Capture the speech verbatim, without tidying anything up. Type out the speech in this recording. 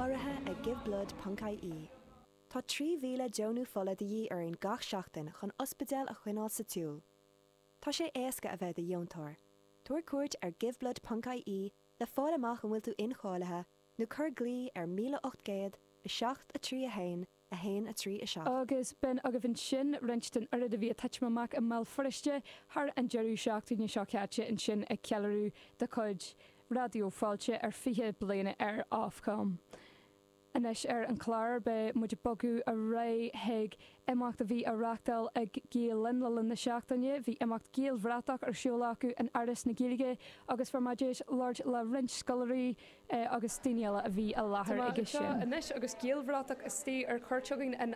Urraithe ag giveblood ponc ie. Tá trí mhíle deonú fola de dhíth orainn gach seachtain chun ospidéil a choinneáil sa tsiúl. Tá sé éasca a bheith i do dheontóir. Tabhair cuairt ar giveblood ponc ie le fáil amach an bhfuil tú incháilithe nó cuir glao ar míle ocht gcéad, a seacht, a trí, a haon, a haon, a trí, a seacht. Agus b'in agaibh ansin roinnt den oiread a bhí ag titim amach i mBéal Feirste thar an deireadh seachtaine seo caite ansin ag ceiliúradh de chuid Raidió Fáilte ar fiche bliana ar Ofcom. Anois ar an chlár beidh muid ag bogadh ar aghaidh chuig imeacht a bhí á reáchtáil ag Gael Linn le linn na seachtaine. Bhí imeacht Gaelbhratach ar siúl acu in Áras na Gaeilge agus fuair mé deis labhairt le roinnt scoláirí agus daoine eile a bhí i láthair aige sin. Anois agus Gaelbhratach istigh ar cuairt againn in